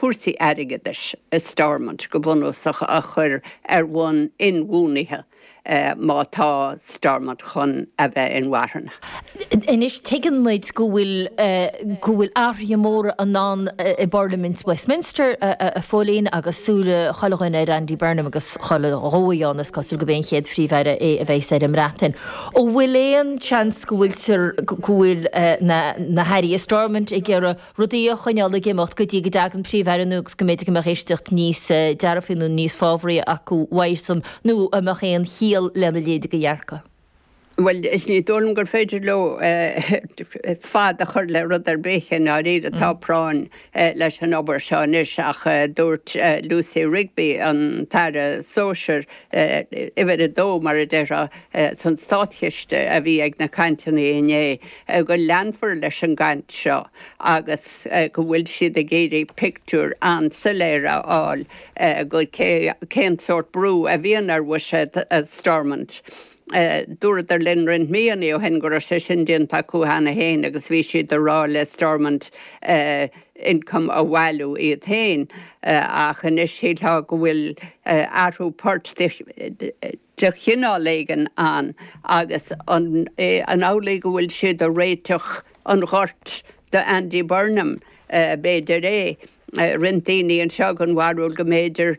cúrsaí airgeadais i Stormont go bunúsach a chur ar bhonn inbhuanaithe má tá Stormont chun a bheith inmharthana. Anois tuigeann muid go bhfuil go bhfuil athruithe móra i ndán i bParlaimint Westminster, a Phóilín, agus súile chuile dhuine ar Andy Burnham agus chuile dhóigh ann, is cosúil gurb é an chéad Phríomh-Aire é a bheas ar an mBreatain. An bhfuil aon seans go bhfuiltear go bhfuil na na hairí i Stormont ag iarraidh rudaí a choinneáil ag imeacht go dtí go dtagann Príomh-Aire nua agus go mb'fhéidir go mbeadh éisteacht níos dearfaí nó níos fábhraí acu uaidhsean nó an mbeadh aon chiall lena leithéid de dhearcadh? Bhuel, ní dóigh liom gur féidir leo fad a chur le rud ar bith i ndáiríre. Tá práinn leis an obair seo anois ach dúirt Lucy Rigby, an tAire Sóisir, uimhir a dó mar a déarfá, san Státchiste a bhí ag na cainteanna inné, go leanfar leis an gcaint seo agus go bhfuil siad ag iarraidh pictiúr an-soiléir a fháil go cén sórt brú a bhíonn ar bhuiséad Stormont. Dúradar linn roinnt míonna ó shin go raibh sé sin déanta acu cheana féin agus bhí siad ag rá le Stormont ioncam a bhailiú iad féin ach anois shílfeá go bhfuil athrú poirt de chineál éigin ann agus an amhlaidh go bhfuil siad ag réiteach an ghoirt do Andy Burnham? B'fhéidir é. Roinnt daoine anseo den bharúil go mb'fhéidir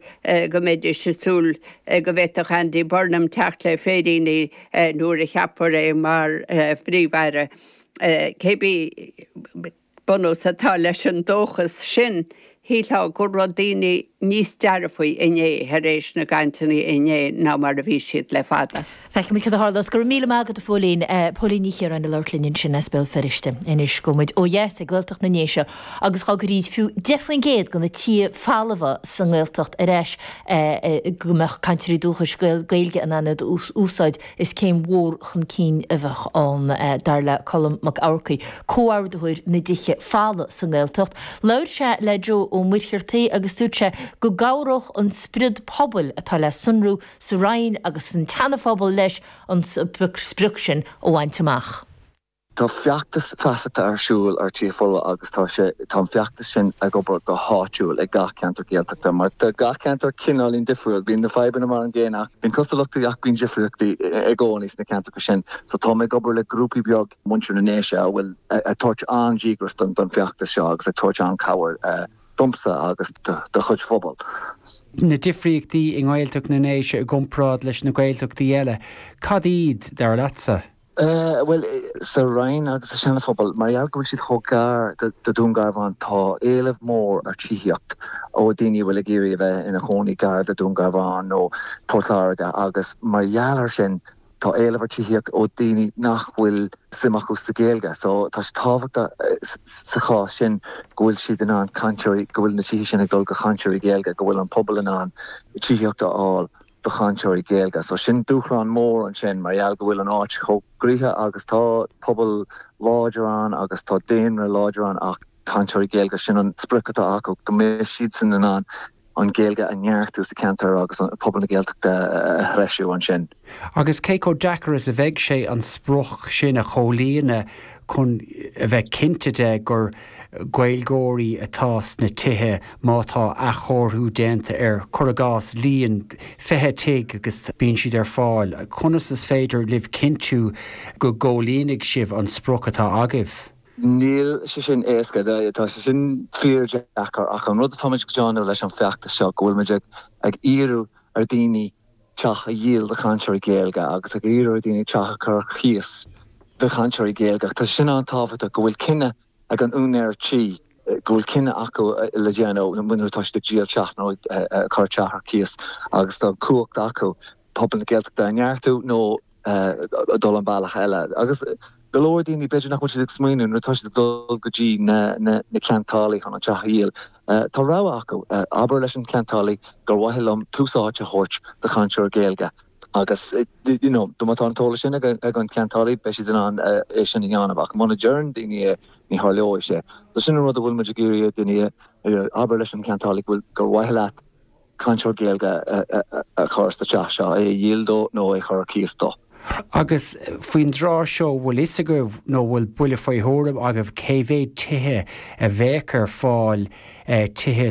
go mbeidís ag súil go bhféadfadh Andy Burnham teacht le féiríní nuair a cheapfar é mar Phríomh-Aire. Cébí bunús atá leis an dóchas sin, shílfeá go raibh daoine níos dearfaí inné tar éis na gcainteanna inné ná mar a bhí siad le fada. Feicfimid cad a tharlós. Go raibh míle maith agat, a Phóilín. Póilín Ní Chiaráin ag labhairt linn ansin as Béal Feirste. Anois gabhfaidh muid ó dheas ag Gaeltacht na nDéise agus dá gcuirfí fiú 10% de na tithe folmha sa nGaeltacht ar ais go mbeadh cainteoirí dúchais Gaeilge in ann iad a úsáid, Is céim mhór chun cinn a bheadh ann, dar le Colm Mac Eamharcaigh, comhordaitheoir na dtithe folamh sa nGaeltacht. Labhair sé le Joe Ó Muircheartaigh agus dúirt sé go gcabhródh an spiorad pobail atá le sonrú sa Rinn agus san tSeana-Phobal leis an sprioc sin a bhaint amach. Tá feachtas feasachta ar siúl ar Tithe Folmha agus tá sé, tá an feachtas sin ag obair go háitiúil i gach ceantar Gaeltachta mar tá gach ceantar cineáilín difriúil. Bíonn na fadhbanna mar an gcéanna ach bíonn cosúlachtaí ach bíonn difríochtaí i gcónaí sna ceantracha sin. So tá mé ag obair le grúpaí beag muintir na nDéise a bhfuil ag tabhairt an-díograis don feachtas seo agus ag tabhairt an-cabhair domsa agus do chuid phobal. Na difríochtaí i nGaeltacht na nDéise i gcomparáid leis na Gaeltachtaí eile, cad iad, dar leatsa? Bhuel, sa Rinn agus sa Seana-Phobal, mar gheall go bhfuil siad chomh gar do Dún Garbhán, tá éileamh mór ar tithíocht ó daoine a bhfuil ag iarraidh a bheith ina chónaí gar do Dún Garbhán nó Port Láirge agus mar gheall ar sin, tá éileamh ar tithíocht ó daoine nach bhfuil suim acu sa Ghaeilge. So, tá sé tábhachtach sa chás sin go bhfuil siad in ann cainteoirí, go bhfuil na tithe sin ag dul go chainteoirí Gaeilge, go bhfuil an pobal in ann tithíocht a fháil. do chainteoirí Gaeilge. So sin dúshlán mór ansin mar gheall go bhfuil an áit chomh gnoitheach agus tá pobal láidir ann agus tá daonra láidir ann ach cainteoirí Gaeilge, sin an sprioc atá acu, go mbeidh siadsan in ann an Ghaeilge a neartú sa cheantar agus pobal na Gaeltachta a threisiú ansin. Agus cé chomh deacair is a bheidh sé an sprioc sin a chomhlíonadh chun a bheith cinnte de gur Gaeilgeoirí atá sna tithe má tá athchóiriú déanta ar, cuir i gcás, líon 20 tigh agus bíonn siad ar fáil. Conas is féidir libh cinntiú go gcomhlíonfaidh sibh an sprioc atá agaibh? Níl sé sin éasca. Tá sé sin fíordheacair ach an rud atáimid ag déanamh leis an bhfeachtas seo go bhfuilimid ag iarraidh ar daoine teach a dhíol do chainteoirí Gaeilge agus ag iarraidh ar daoine teach a chur ar cíos do chainteoirí Gaeilge. Tá sé sin an-tábhachtach go bhfuil cinneadh ag an úinéir tí, go bhfuil cinneadh acu le déanamh nuair atá siad ag díol teach nó ag cur teach ar cíos agus tá an cumhacht acu pobal na Gaeltachta a neartú nó dul an bealach eile. Agus go leor daoine, b'fhéidir nach bhfuil siad ag smaoineamh nuair atá siad ag dul go dtí na ceantálaí chun an teach a dhíol, tá rogha acu. Abair leis an cheantálaí gur mhaith liom tús áite a thabhairt do chainteoir Gaeilge. Agus you know má tá an t-eolas sin ag an cheantálaí, beidh siad in ann é sin a dhéanamh. Ach muna deireann daoine é, ní tharlóidh sé. So sin an rud a bhfuil muid ag iarraidh ar daoine, abair leis an cheantálaí go bhfuil, gur mhaith leat cainteoir Gaeilge a chur sa teach seo, é a dhíol dó nó é a chur ar cíos dó. Agus faoin dtráth seo, bhfuil fhios agaibh nó bhfuil buille faoi thuairim agaibh cé mhéad tithe a bheadh ar fáil, tithe.